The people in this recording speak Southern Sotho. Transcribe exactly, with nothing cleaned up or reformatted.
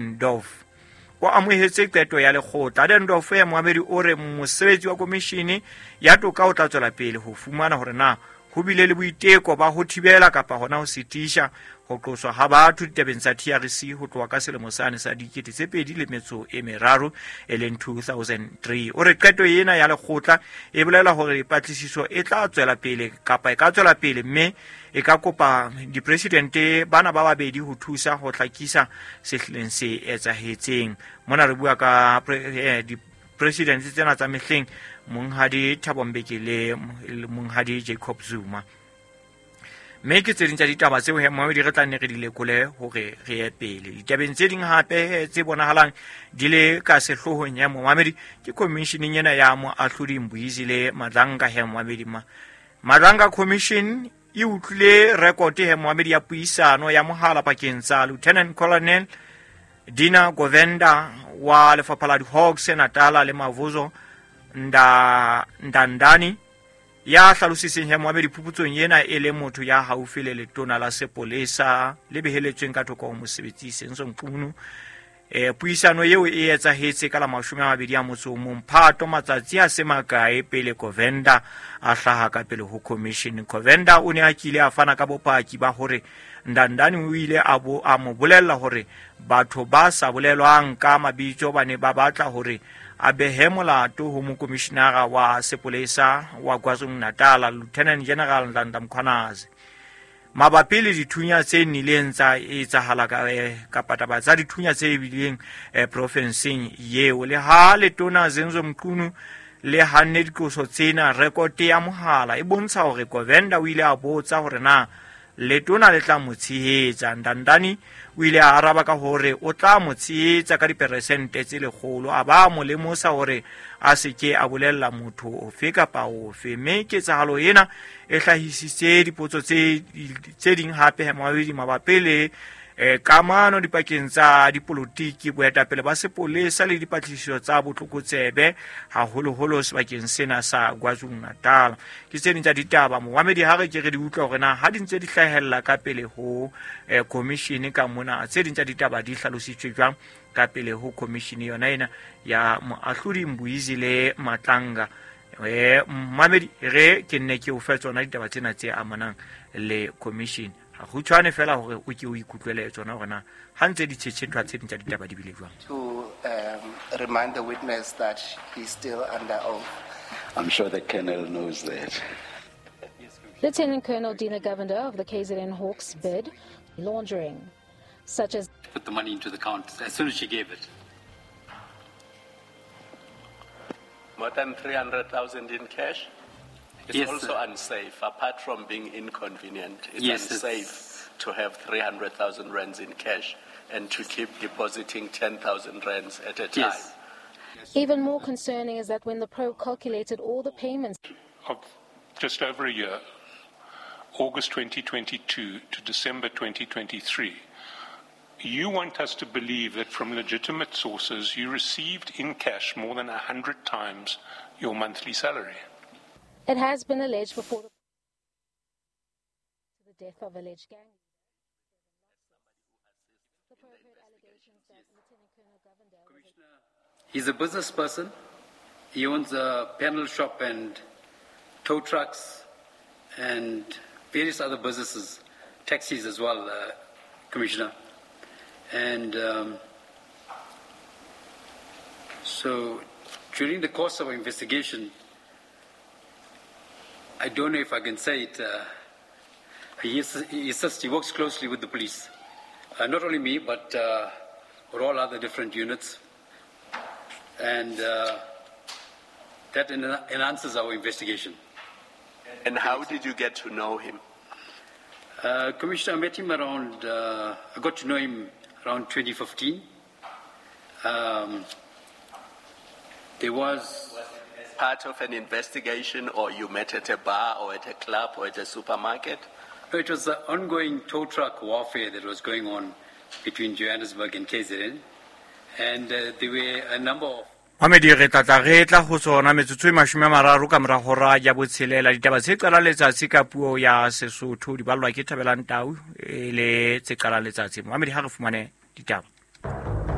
Adendorff o amohetse qeto ya lekgotla. Adendorff ya moamedi o re mosebetsi wa komishini ya toka o tla tswela pele ho fumana hore na ho bile le boiteko ba ho thibela kapa hona ho sitisha ho qoswa ha batho ditabeng tsa T R C ho tloha ka selemo sane sa dikete tse pedi le metso e meraro e leng two thousand three. O re qeto ena ya lekgotla e bolela hore patlisiso e tla tswela pele kapa e ka tswela pele mme e ka kopa dipresidente bana ba babedi ho thusa ho hlakisa se hlileng se etsahetseng. Mona re bua ka eh, dipresidente tsena tsa mehleng Monghadi Thabo Mbeki le Monghadi Jacob Zuma. Mme ke tse ding tsa ditaba tseo he moamedi re tla nne re di lekole hore re ye pele. Ditabeng tse ding hape tse bonahalang di le ka sehloohong ya moamedi ke commissioning ena ya moahlodi Mbuyisile Madlanga he moamedi ma. Madlanga Commission e utlwile record he moamedi ya puisano ya mohala pakeng tsa Lieutenant Colonel Dina Govender wa lefapha la di-Hawks Natala le Mavuso Nda Ndandani ya hlalositseng he moamedi phuputsong ena e le motho ya haufi le letona la sepolesa le beheletsweng ka thoko ho mosebetsi Senzo Mchunu. E, puisano eo e etsahetse ka la mashome a mabedi a motso o mong Phato, matsatsi a se makae pele Govender a hlaha ka pele ho commission. Govender o ne a kile a fana ka bopaki ba hore Ndandani o ile a bo a mo bolella hore batho ba sa bolelwang ka mabitso ba ne ba batla hore a behe molato ho mokomishinara wa sepolesa wa KwaZulu-Natal Lieutenant General Nhlanhla Mkhwanazi mabapi le dithunya tse nnileng tsa etsahala ka kapa taba tsa dithunya tse bileng eh, profenseng eo. Le ha letona Zenzo Mchunu le hanne diqoso tsena, rekote ya mohala e bontsha hore Govender o ile a botsa hore na letona le tla mo tshehetsa. Ndandani o ile a araba ka hore o tla mo tshehetsa ka diperesente tse lekgolo, a ba mo lemosa hore a se ke a bolella motho ofe kapa ofe. Mme ketsahalo ena e hlahisitse dipotso tse tse ding hape mabedi mabapi le eh, kamano dipakeng tsa dipolotiki, boetapele ba sepolesa le dipatlisiso tsa botlokotsebe haholoholo sebakeng sena sa KwaZulu-Natal. Ke tse ding tsa ditaba moamedi ha re ke re di utlwa hore na ha di ntse di hlahella ka pele ho eh, commission ka mona, tse ding tsa ditaba di hlalositswe jwang ka pele ho commission yona ena ya moahlodi Mbuyisile Madlanga. Eh, moamedi re ke nne ke o fe tsona ditaba tsena tse amanang le commission. Ha ho tshwane fela hore o ke o ikutlwele tsona hore na ha ntse di tjhetjhethwa tse ding tsa ditaba di bile jwang. To um, remind the witness that he's still under oath. I'm sure the colonel knows that. Lieutenant Colonel Dina Govender of the K Z N Hawks bid laundering, such as put the money into the account as soon as she gave it. More than three hundred thousand in cash? It's Yes, also sir. unsafe, apart from being inconvenient. It's Yes, it's unsafe to have three hundred thousand rands in cash and to keep depositing ten thousand rands at a time. Yes. Even more concerning is that when the probe calculated all the payments of just over a year, August twenty twenty-two to December twenty twenty-three, you want us to believe that from legitimate sources you received in cash more than a hundred times your monthly salary. It has been alleged before the death of alleged gang. The probe heard allegations that Lieutenant Colonel Govender was a He's a business person. He owns a panel shop and tow trucks and various other businesses, taxis as well, uh, Commissioner. And, um, so during the course of our investigation, I don't know if I can say it, uh, he, he assists, he works closely with the police. Uh, not only me, but, uh, with all other different units. And, uh, that en- enhances our investigation. And how did you get to know him? Uh, Commissioner, I met him around, uh, I got to know him around twenty fifteen. Um, there was... part of an investigation, or you met at a bar or at a club or at a supermarket? No, it was the ongoing tow truck warfare that was going on between Johannesburg and K Z N. And, uh, there were a number of... Mamedi re tla tla re tla ho tsona metsotso e mashome a mararo ka mora hora ya botshelela. Ditaba tse qalang letsatsi ka puo ya Sesotho di ballwa ke Thabelang Tau e le tse qalang letsatsi. Mamedi ha re fumane ditaba.